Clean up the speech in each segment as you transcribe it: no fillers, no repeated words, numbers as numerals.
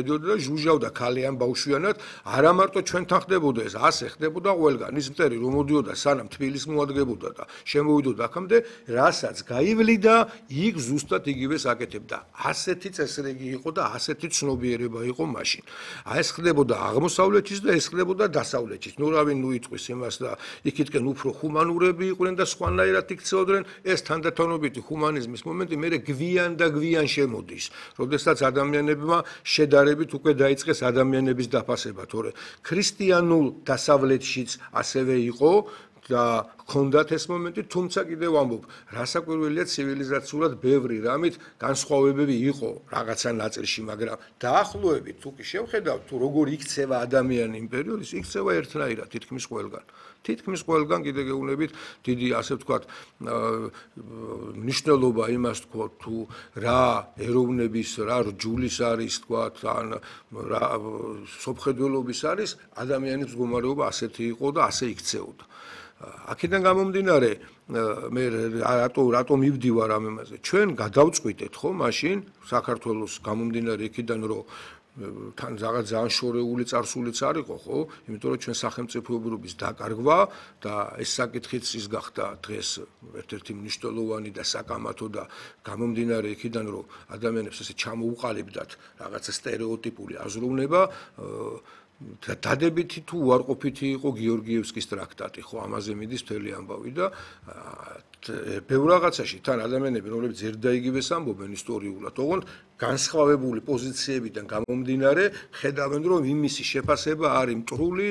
და ჟუჟავდა ქალიან ბავშვიანად, არა მარტო ჩვენთან ხდებოდა ეს, ასე ხდებოდა ყველგან. ის მტერი რომ მოდიოდა სანამ თბილისს მოადგებოდა და შემოვიდოდა აქამდე, რასაც გაივლიდა, იქ ზუსტად იგივეს აკეთებდა. ასეთი წესრიგი იყო და ასეთი ცნობიერება იყო მაშინ. ეს ხდებოდა აღმოსავლეთის და ეს ხდებოდა დასავლეთის. ნუ რავინ იტყვის იმას და იქითკენ უფრო ჰუმანურები იყვნენ და სხვანაირად იქცეოდნენ, ეს თანდათანობითი ჰუმანიზმის მომენტი მერე გვიან და გვიან შემოდის, როდესაც ადამიანებმა შედარებით უკვე დაიწყეს ადამიანების დაფასება, თორე ქრისტიანულ დასავლეთშიც ასევე იყო და ჰქონდათ ეს მომენტი, თუმცა კიდევ ვამბობ, რასაკვირველია ცივილიზაციულად ბევრი რამით განსხვავებები იყო რაღაცა ნაწილში, მაგრამ დაახლოებით თუ კი შევხედავთ, თუ როგორ იქცევა ადამიანი იმ პერიოდის, იქცევა ერთნაირად თითქმის ყველგან. თითქმის ყველგან კიდე გეუბნებით დიდი ასე ვთქვათ მნიშვნელობა იმას თქვა თუ რა ეროვნების რა რჯულის არის თქვათ ან რა სოფხედველობის არის ადამიანის მდგომარეობა ასეთი იყო და ასე იქცეოდა. აქედან გამომდინარე მე რატო მივდივარ ამ იმაზე ჩვენ გადავწყვიტეთ ხო მაშინ საქართველოს გამომდინარე იქიდან რომ თან რაღაც ძალიან შორეული წარსულიც არ იყო ხო იმიტომ რომ ჩვენ სახელმწიფოებრობის დაკარგვა და ეს საკითხიც ის გახდა დღეს ერთ-ერთი მნიშვნელოვანი და საკამათო და გამომდინარე იქიდან რომ ადამიანებს ესე ჩამოუყალიბდათ რაღაცა სტერეოტიპული აზროვნება დადებითი თუ უარყოფითი იყო გიორგიევსკის ტრაქტატი ხო ამაზე მიდის მთელი ამბავი და ბევრ რაღაცაში თან ადამიანები რომლებიც ერთდაიგივეს ამბობენ ისტორიულად ოღონდ განსხვავებული პოზიციებიდან გამომდინარე ხედავენ რომ იმისი შეფასება არის მტრული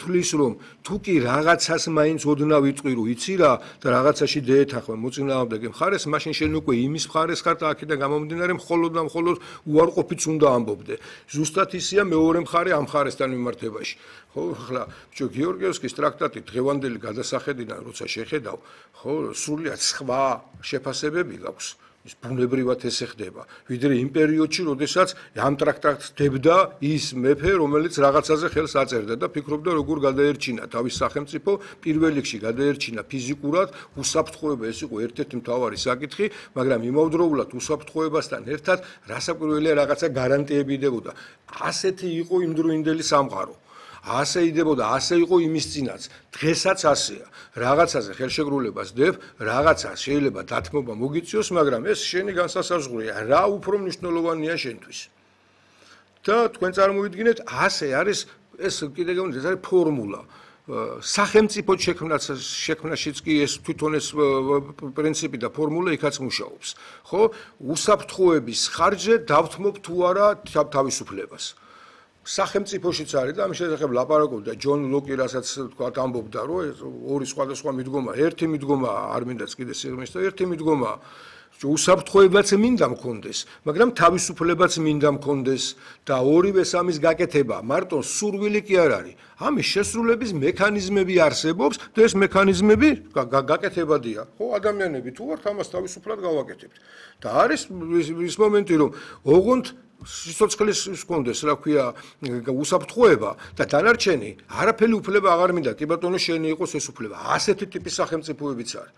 თulis რომ თუ კი რაღაცას მაინც ოდნავ იტყვი რომ იცი რა და რაღაცაში დაეთახვა მოწინააღმდეგე მხარეს მაშინ შენ უკვე იმის მხარეს ხარ და აქედან გამომდინარე მხოლოდ და მხოლოდ უარყოფით უნდა ამბობდე ზუსტად ისია მეორე მხარე ამ მხარესთან მიმართებაში ხო ახლა ბიჭო გიორგიევსკის ტრაქტატი დღევანდელი გადასახედიდან როცა შეხედავ ხო სრულიად სხვა შეფასებები გაქვს ის ბუნებრივად ესე ხდება ვიდრე იმ პერიოდში როდესაც ამ ტრაქტატს დებდა ის მეფე რომელიც რაღაცაზე ხელს აწერდა და ფიქრობდა როგორ გადაერჩინა თავის სახელმწიფო პირველ რიგში გადაერჩინა ფიზიკურად უსაფრთხოება ეს იყო ერთ-ერთი მთავარი საკითხი მაგრამ იმავდროულად უსაფრთხოებასთან ერთად რასაკვირველია რაღაცა გარანტიები დებოდა ასეთი იყო იმდროინდელი სამყარო ასე იდებოდა, ასე იყო იმის წინაც. დღესაც ასეა. რაღაცაზე ხელშეკრულებას დებ, რაღაცა შეიძლება დათმობა მოგიწიოს, მაგრამ ეს შენი განსასაზღვრია. რა უფრო მნიშვნელოვანია შენთვის. და თქვენ წარმოვიდგინეთ, ასე არის ეს კიდე გეუბნებით, ეს არის ფორმულა. სახელმწიფო შექმნაშიც კი ეს თვითონ ეს პრინციპი და ფორმულა იქაც მუშაობს. ხო? უსაფრთხოების ხარჯზე დავთმობ თუ არა თავისუფლებას. სახელმწიფოშიც არის და ამის შესახებ ლაპარაკობდა ჯონ ლოკი, რასაც თქვა ამბობდა, რომ ორი სხვადასხვა მიდგომა, ერთი მიდგომა არ მინდაც კიდე სიღრმის და ერთი მიდგომა უსაფრთხოებაც მინდა მქონდეს, მაგრამ თავისუფლებაც მინდა მქონდეს და ორივეს ამის გაკეთება მარტო სურვილი კი არ არის. ამის შესრულების მექანიზმები არსებობს და ეს მექანიზმები გაკეთებადია. ხო, ადამიანები თუ ვართ, ამას თავისუფლად გავაკეთებთ. და არის ის მომენტი, რომ ოღონდ სიცოცხლის კონდეს რა ქვია უსაფრთხოება და დანარჩენი არაფერი უფლება აღარ მინდა კი ბატონო შენი იყოს ეს უფლება ასეთი ტიპის სახელმწიფოებიც არის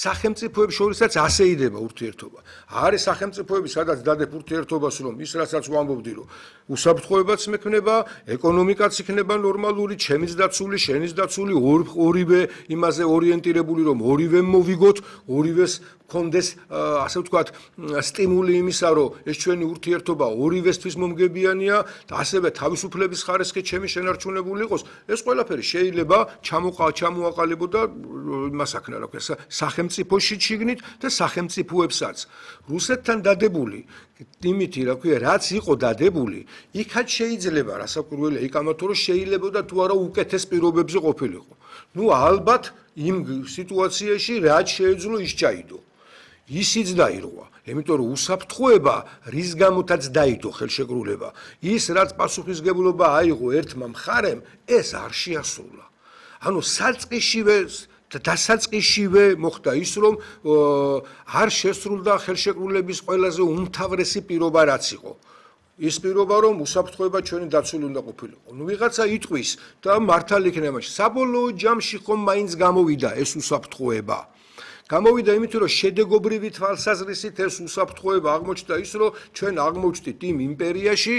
სახელმწიფოებს შორისაც ასე იდება ურთიერთობა არის სახელმწიფოები სადაც დადებ ურთიერთობას რომ ის რასაც ვამბობდი რომ უსაფრთხოებაც მექნება ეკონომიკაც იქნება ნორმალური ჩემიც დაცული შენის დაცული ორივე იმაზე ორიენტირებული რომ ორივე მოვიგოთ ორივეს კონდეს ასე ვთქვათ სტიმული იმისა რომ ეს ჩვენი ურთიერთობა ორივესთვის მომგებიანია და ასევე თავისუფლების ხარისხი ჩემი შენარჩუნებული იყოს ეს ყველაფერი შეიძლება ჩამოაყალიბო და იმას აქნა რა ქვია სახელმწიფოში შიგნით და სახელმწიფოებსაც რუსეთთან დადებული იმითი რა ქვია რაც იყო დადებული იქაც შეიძლება რასაკვირველია იქ ამათო რომ შეიძლება და თუ არა უკეთეს პირობებზე ყოფილიყო ნუ ალბათ იმ სიტუაციაში რაც შეეძლო ის ჩაიდო ისიც დაირღვა, იმიტომ რომ უსაფრთხოება რის გამოთაც დაიდო ხელშეკრულება, ის რაც პასუხისგებლობა აიღო ერთმა მხარემ, ეს არ შეასრულა. ანუ საწყისშივე დასაწყისშივე მოხდა ის, რომ არ შესრულდა ხელშეკრულების ყველაზე უმთავრესი პირობა რაც იყო. ის პირობა რომ უსაფრთხოება ჩვენი დაცული უნდა ყოფილიყო. ნუ ვიღაცა იტყვის და მართალი იქნება. საბოლოო ჯამში ხომ მაინც გამოვიდა ეს უსაფრთხოება. გამოვიდა იმით, რომ შედეგობრივი თვალსაზრისით ეს უსაფრთხოება აღმოჩნდა ის, რომ ჩვენ აღმოჩნდით იმ იმპერიაში,